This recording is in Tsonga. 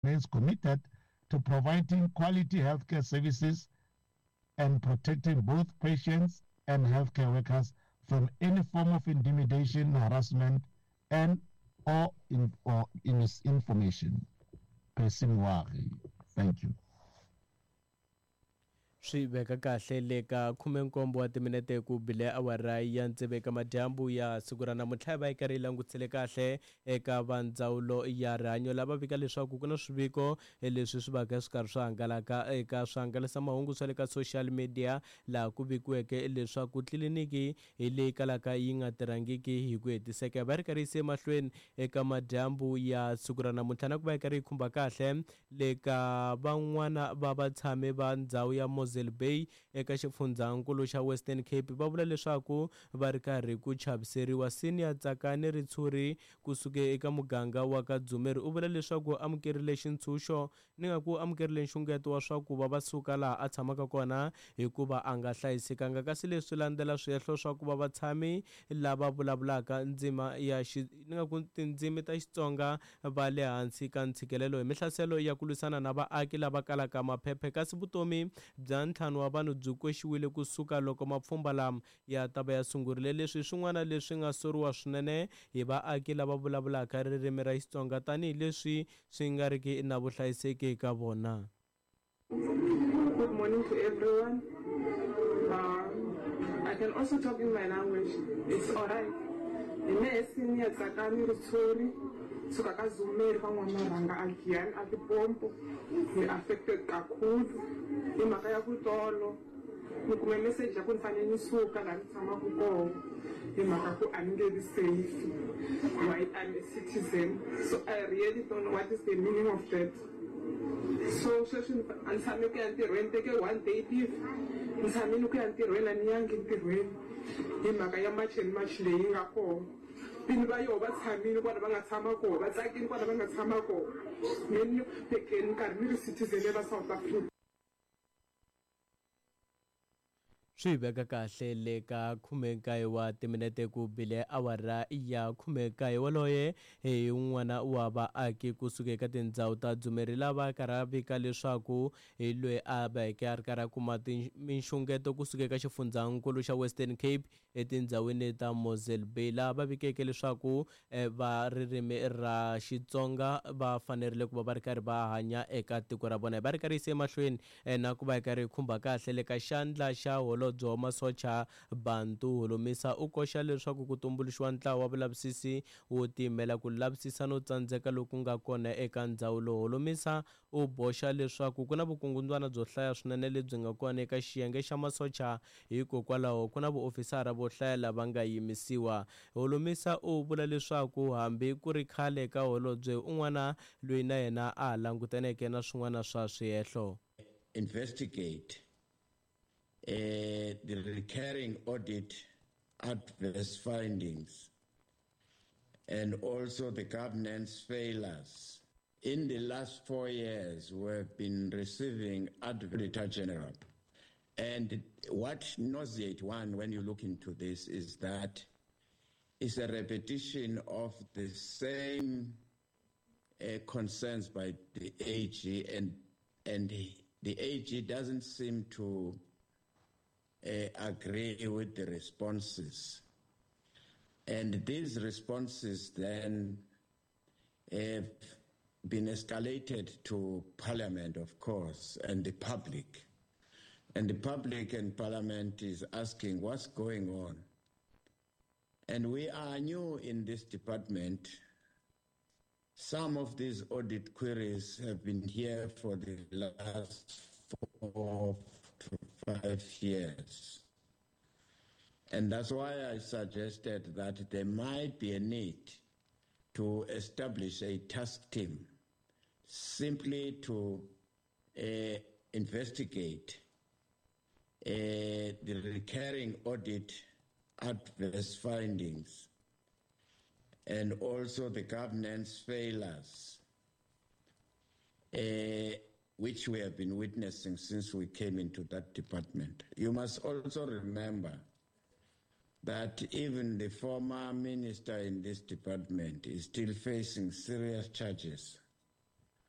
Remains committed to providing quality healthcare services and protecting both patients and healthcare workers from any form of intimidation, harassment, and or, in, or misinformation. Percy Mwari. Thank you. Swi veka kahle le ka khumenkombo wa timinete ku bile awara ya tsevu eka madyambu ya siku ra namuntlha. Hi va yi karhi yi langutisele kahle eka va ndzawulo ya rihanyo lava vika leswaku ku na swiviko leswi swi vaka swi karhi swi hangalaka eka swihangalasamahungu swa le ka social media, laha ku vikiweke leswaku tliliniki hi leyi kalaka yi nga tirhangiki hi ku hetiseka. Va ri karhi yise emahlweni eka madyambu ya siku ra namuntlha na ku va yi karhi yi khumba kahle le ka van'wana va vatshami va ndhawu ya Mosel Bay eka xifundzhankulu xa Western Cape, va vula leswaku va ri karhi ku chaviseriwa. Senior Tsakani Ritshuri kusuka eka muganga wa ka Dzumeri u vula leswaku amukerile xintshunxo ni nga ku amukerile nxungeto wa swa ku va va suka laha a tshamaka kona hikuva a nga hlayisekanga, kasi leswi landzela swihehlo swa ku va vatshami lava vulavulaka ndzima ya xi ni nga ku tindzimi ta Xitsonga va le hansi ka ntshikelelo hi mihlaselo ya ku lwisana na vaaki lava kalaka maphephe, kasi vutomi bya ntlhanu wa vanhu byi koxiwile kusuka loko mapfhumba lama ya ta va ya sungurile. Leswi hi swin'wana leswi nga soriwa swinene hi vaaki lava vulavulaka ririmi ra Xitsonga tanihileswi swi nga riki na vuhlayiseki eka vona. Good morning to everyone. I can also talk in my language. It's alright. Hi mehe Senior Tsakani Ritshuri suka ka Zumeri ka n'wana rhanga a Giyani a Limpopo. Ni affected kakhulu hi mhaka ya ku tolo ni kume message ya ku ni fanele ni suka laha ni tshamaka kona hi mhaka ku a ni nge vi safe while I'm a citizen. So I really don't know what is the meaning of that. So sweswi a ni tshame ku ya ntirhweni, teke one day leave, ni tshamile ku ya ntirhweni, a ni yangi ntirhweni hi mhaka ya March and March leyi nga kona. Vini va yoho va tshamile kwala va nga tshama kona, va tsakile kwala va nga tshama kona, me ni tekeni nkarhi ni ri citizen ya la South Africa. Swi veka kahle le ka 19 wa timinete ku bile awara ya 19. Woloye hi un'wana wa vaaki kusuka eka tindhawu ta Dzumeri lava karhi a vika leswaku hi loyi a veke a ri karhi a kuma minxungeto kusuka eka xifundzhankulu xa Western Cape etindhawini ta Mosel Bay, laha va vikeke leswaku va ririmi ra Xitsonga va fanerile ku va va ri karhi va hanya eka tiko ra vona. Va ri karhi yise emahlweni na ku va yi karhi yi khumba kahle le ka xandla xa holobye wa masocha Bantu Holomisa u koxa leswaku ku tumbuluxiwa ntlawa wa vulavisisi wo tiyimela ku lavisisa no tsandzeka loku nga kona eka ndzawulo. Holomisa u boxa leswaku ku na vukungundzwana byo hlaya swinene lebyi nga kona eka xiyenge xa masocha, hikokwalaho ku na vuofisara vo hlaya lava nga yimisiwa. Holomisa u vula leswaku hambi ku ri khale ka holobye un'wana loyi na yena a ha langutaneke na swin'wana swa swihehlo. Investigate the recurring audit adverse findings and also the governance failures. In the last 4 years, we have been receiving Auditor General. And what nauseates one when you look into this is that it's a repetition of the same concerns by the AG, and the AG doesn't seem to agree with the responses. And these responses then have been escalated to Parliament, of course, and the public. And the public and Parliament is asking what's going on. And we are new in this department. Some of these audit queries have been here for the last 4 to 5 years. And that's why I suggested that there might be a need to establish a task team simply to investigate the recurring audit adverse findings and also the governance failures, which we have been witnessing since we came into that department. You must also remember that even the former minister in this department is still facing serious charges.